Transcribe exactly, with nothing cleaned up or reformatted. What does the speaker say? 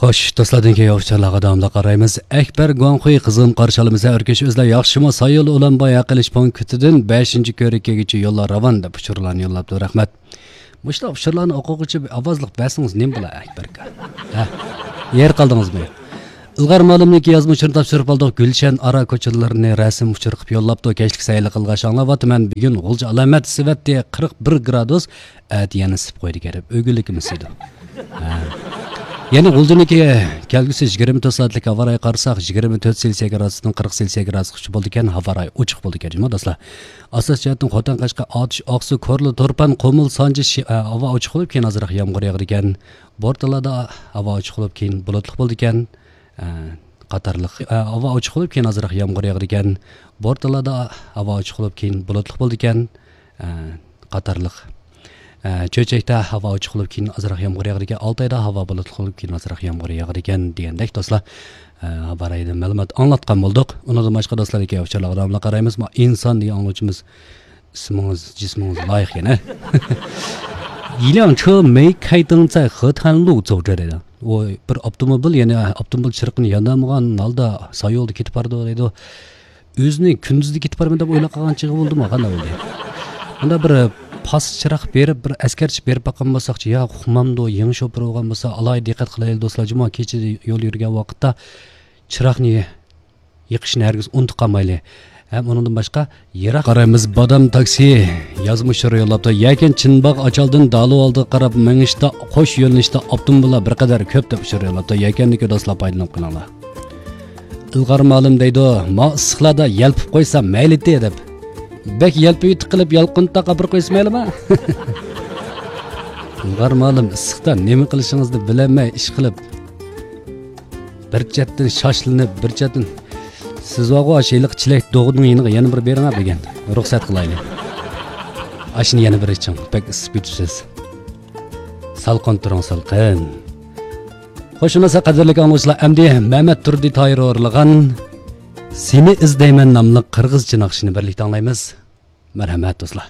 خوش، دوستلاردىن كېيىن ئۇچۇرلارغا داۋاملىق قارايمىز. ئەكبەر گۇاڭخۇي، قىزغىن قارشى ئالىمىز. ھەر كۈنى ئۆزلەر ياخشىمۇ؟ سايول ئۇلانباي ھەق ئېلىش پونكىتىدىن بەشىنچى كۆرۈككىگىچە يوللار راۋان، دەپ ئۇچۇرلارنى يوللاپتۇ. رەھمەت. مۇشۇنداق ئۇچۇرلارنى ئوقۇغۇچە بىر ئاۋازلىق بەرسىڭىز نېمە بولا، ئەكبەر ئاكا؟ ھە؟ يېرى قالدىڭىزمۇ؟ ئىلغار مالىمنىڭكى يازما ئۇچۇرىنى تاپشۇرۇپ ئالدۇق. گۈلشەن ئارا كوچىلىرىنى رەسىم ئۇچۇر قىلىپ يوللاپتۇ. كەچلىك سەيلە قىلغاچ ئاڭلاۋاتىمەن. بۈگۈن غۇلجا ئالامەت ئىسسىۋەتتى، قىرىق بىر گرادۇس. ئەتە يەنە ئىسسىپ قويىدىكەن دەپ، ئۆگۈنلۈكىمىز دەيدۇ. ھە. يەنە غۇلجىنىڭكى كەلگۈسى يىگىرمە تۆت سائەتلىك ھاۋا رايىغا قارىساق، يىگىرمە تۆت سېلسىيە گرادۇستىن قىرىق سېلسىيە گرادۇسقىچە بولىدىكەن، ھاۋا رايى ئوچۇق بولىدىكەن جۇمۇ دوستلار. ئاساسىي جەھەتتىن خوتەن، قەشقەر، ئاتۇش، ئاقسۇ، كورلا، تۇرپان، قۇمۇل، سانجى شى-، ئە، ھاۋا ئوچۇق بولۇپ، كېيىن ئازراق يامغۇر ياغىدىكەن. بورتالادا ھاۋا ئوچۇق بولۇپ، كېيىن بۇلۇتلۇق بولىدىكەن. ئە، قاتارلىق، ئە، ھاۋا ئوچۇق بولۇپ، كېيىن ئازراق يامغۇر ياغىدىكەن. بورتالادا ھاۋا ئوچۇق بولۇپ، كېيىن بۇلۇتلۇق بولىدىكەن. ئە، قاتارلىق. ئە، چۆچەكتە ھاۋا ئوچۇق بولۇپ، كېيىن ئازراق يامغۇر ياغىدىكەن. ئالتايدا ھاۋا بۇلۇتلۇق بولۇپ، كېيىن ئازراق يامغۇر ياغىدىكەن دېگەندەك دوستلار. ئە، ھاۋا رايىدىن مەلۇمات ئاڭلاتقان بولدۇق. ئۇنىڭدىن باشقا دوستلار، ئۇچۇرلارغا داۋاملىق قارايمىز. ما ئىنسان دېگەن ئاڭلىغۇچىمىز ئىسمىڭىز، جىسمىڭىز لايىق يەنە. يىلياڭچې مېي كايتىڭ زاي خېتەنلۇ زوجې دەيدۇ. ئۇ بىر ئاپتوموبىل، يەنى ئاپتوموبىل چىرىقىنى ياندۇرمىغان ھالدا سايولدا كېتىپ بارىدۇ دەيدۇ. ئۆزىنى كۈندۈزدە كېتىپ بارىمەن دەپ ئويلاپ قالغان چېغى بولدىمۇ، قانداق بولدى؟ ئۇندا بىر پاس چىراغ بېرىپ، بىر ئەسكەرتىش بېرىپ باققان بولساقچۇ، يا ئۇقمامدۇ، يېڭى شوپۇر بولغان بولسا، ئالاھىدە دىققەت قىلايلى دوستلار، جۇمۇ كېچىدە يول يۈرگەن ۋاقىتتا چىراغنى يېقىشنى ھەرگىز ئۇنتۇپ قالمايلى. ھەم ئۇنىڭدىن باشقا يىراق قارايمىز، بادام تاكسى يازما ئۇچۇر يوللاپتۇ. يەكەن چىنباغ ئاچالدىن دالۇ ئالدىغا قاراپ مېڭىشتا قوش يۆنىلىشتە ئاپتوموبىللار بىر قەدەر كۆپ، دەپ ئۇچۇر يوللاپتۇ. يەكەندىكى دوستلار پايدىلىنىپ قېلىڭلار. ئىلغار مالىم دەيدۇ، ما ئىسسىقلاردا يەلپۈپ قويسا مەيلىتى دەپ. بەك يەلپۈيۈپ قىلىپ يالقۇن تاقاپ بىر قويسا مەيلىما؟ ئىلغار مالىم، ئىسسىقتا نېمە قىلىشىڭىزنى بىلەلمەي ئىش قىلىپ، بىر چەتتىن شاشلىنىپ، بىر چەتتىن، سىز بارغۇ، ئاشۇ ھېلىقى چىلەك دوغىنىڭ يېنىغا يەنە بىر بېرىڭە دېگەن. رۇخسەت قىلايلى. ئاشۇنى يەنە بىر ئىچىڭ، بەك ئىسسىپ كېتىپسىز. سالقىن تۇرۇڭ، سالقىن. خوش، شۇنداق قەدىرلىك ئاڭلىغۇچىلار، ئەمدى مەمەت تۇردى تاھىر ئورۇنلىغان سېنى ئىزدەيمەن ناملىق قىرغىزچە ناخشىنى بىرلىكتە ئاڭلايمىز. مەرھەمەت، دوستلار.